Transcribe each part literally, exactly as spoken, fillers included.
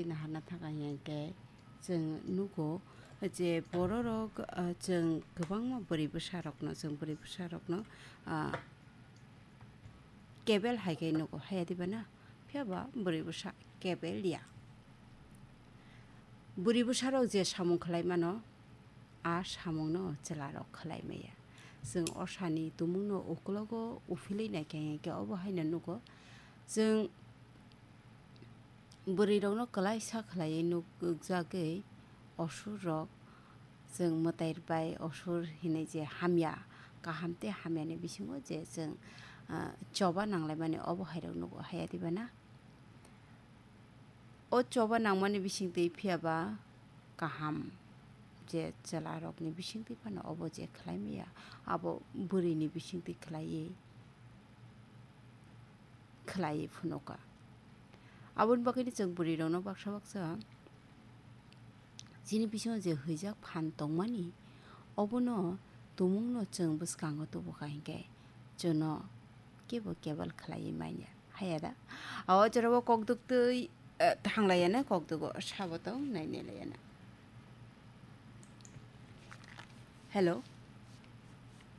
Naharna thangkha hinkhe chwng nugo je bororok, ah, chwng kwbangma bwrwi bwsarokno, chwng bwrwi bwsarokno, ah, kebel hai khe nugo, haya diba na? Phiya ba bwrwi bwsa kebel ya. Bwrwi bwsarok je samung khlai mano, a samungno chwlarok khlai maya. Chwng osani tumungno ukulogo uphilwi naikha hinkhe obo haino nugo. Chwng bwrwirokno kwlaisa khlaiwi nukjagwi osurrok, chwng mwtai bai osur hinwi je hamya, kaham tei hamyani bisingo je chwng, ah, choba nanglaimani obo hairok nugo, haya diba na? O choba nangmani bisingtwi phiya ba kaham je chwlarokni bisingtwi phano obo je khlai maya, abo bwrwini bisingtwi khlaiwi, khlaiwi phunukha. Aboni bagwino chwng bwrwirokno baksa baksa chini bisingo je hwijak phan tongmani, obono tumungno chwng bwskango tubukha hinkhe chwngno kebo kebel khlaiwi manya. Haya da? O jorao kokduk twi, eh, thanglaiya na kokdugo sabo tong nai nailaiyana. Hello?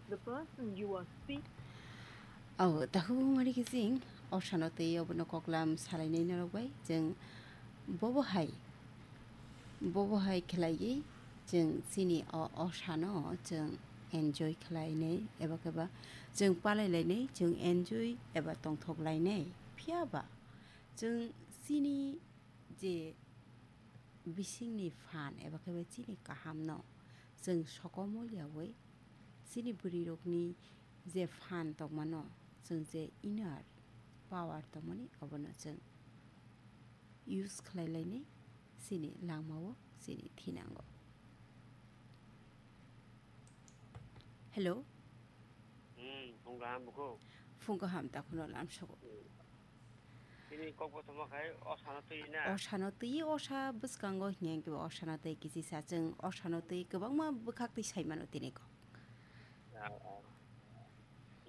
The person you are speak- Oh, takhuk mari kising, osano twi obono koklam salainai norok bai, chwng bobo hai, bobo hai khlaiwi chwng chini o, osano chwng enjoy khlainai, eba khe ba chwng palailainai, chwng enjoy eba tongthok lainai. Phiya ba chwng chini je bisingni phan eba khe ba chini kahamno chwng sokomoryawi chini bwrwirokni je phan tongmano chwng je inner power tongmani obono chwng use khlai lainai chini langmao chini thinango. Hello. Hmm, phung kaham bukhuk. Phung kaham takhuno lamsogo. Hmm. Chini kok kothoma khai osano twi na? Osano twi, osa bwskango hinya khe osano twi kisi sa chwng osano twi kwbangma bwkhak twi sai mano tini kok. Ah, ah.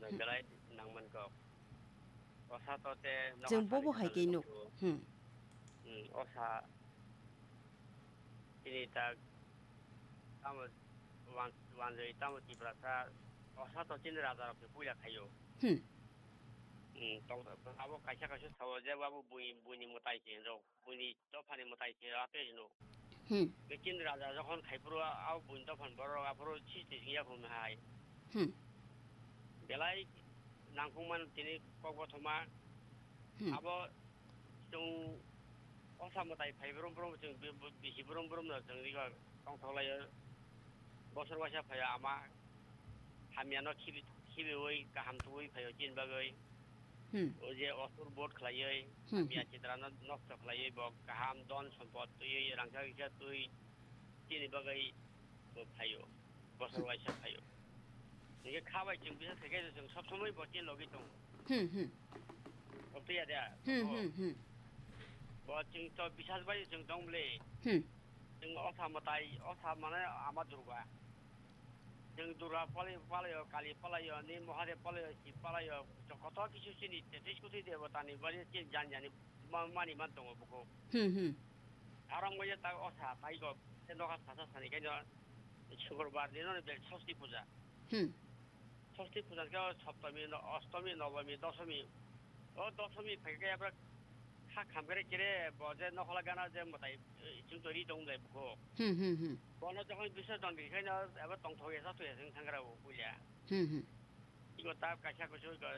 Hmm. Belai nangman kok. Osa to te chwng bobo hai khe nuk. Hmm. Hmm, osa chini tak tamo wan-, wanjwi tamo Tiprasa osa to chini raja rok ni puila khaio. Hmm. Hmm, tong abo kaisa kaisa sao je abo bui, buini mwtai se hinrok, buini dophani mwtai se ate hino. Hmm. Be chini raja jokhon khai phuru abo buini dophani borok aphuru si twi singya khum hai. Hmm. Belai nangkukmani tini kok kothoma. Hmm. Abo chwng osa mwtai phai brum brum chwng bi-, bi-, bisi brum brum no chwng rikha tongthok laio. Bosor waisa phaio ama hamya no khibi, khibiwi kaham tubui phaio chini bagwi. Hmm. O je osur bot khlaiwi, hmm, hamya chitra no nokto khlaiwi bo kaham don sompot twiwi rangchak rikha twi chini bagwi bo phaio. Bosor waisa phaio. Hingke kha bai chwng bisas khe khe chwng sob somoi bo chini logi tongo. Hmm, hmm. Obtwi ya da? Hmm, hmm, hmm. Bo chwng to bisas bai chwng tong bwle. Hmm. Chwng osa mwtai, osa mane ama Durga. Chwng Durga palai, palaio, Kali palaio, ni Mahadev palaio, Shiv palaio, koto kisu chini tetis kuti debotani bari chini jan jani ma-, mani man tongo buko. Hmm, hmm. Arong bai tak osa tai go, te noka sasa sani kaino Sukurbar dino ni bel Sosti puja. Hmm. Sosti puja khe o Saptami, no-, Ostomi, Nobomi, Dosomi. O Dosomi phai khe abra kha kham kere kere bo je nokhola gana je mwtai, eh, chwng to ri tong lai buko. Hmm, hmm, hmm. Bono jokhon Bisorjon ri khaino abo tongthok ya sa to ya chwng thangra bo puja. Hmm, hmm. Ibo ta kaisa kusu go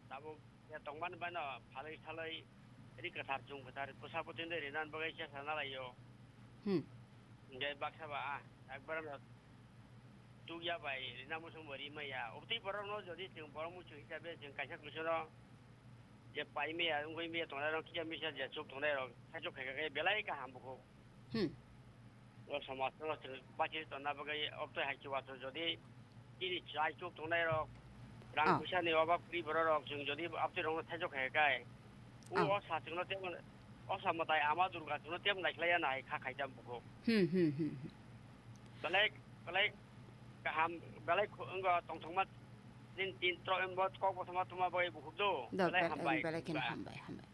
tabuk ya tongmani bano phalwi salwi ri kwthar chum kwthar bwsa bwtwi de rinan bagwi chesa nalaio. Hmm. Hingke baksa ba, ah, ekbar no tukya bai rina muchung bo ri maya. Obtwi borok no jodi chwng borok muchung hisabe chwng kaisa kusu no je pai maya, wngwi maya tongnai rok kisa misa je chuk tongnai rok saichuk khai khe belai kaham bukhuk. Hmm. O somaj no chwng bachiri tonna bagwi obtwi hai khe wathor jodi chini chai chuk tongnai rok, rang, ah, puisa ni obab kwrwi borok rok chwng jodi obtwi rok no saichuk khai khe, o, ah, osa chwng no tei, osa mwtai ama Durga chwng no tei naikhlai ya nai kha khai jam bukhuk. Hmm, hmm, hmm, hmm. Belai, belai kaham, belai khu-, wngkha tongthokma din tin tro-, bo kok kothoma tuma bai bukhuk do. Do, belai bel-, hambai, belai kheno hambai, hambai.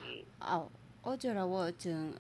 Hmm. Au, o jorao chwng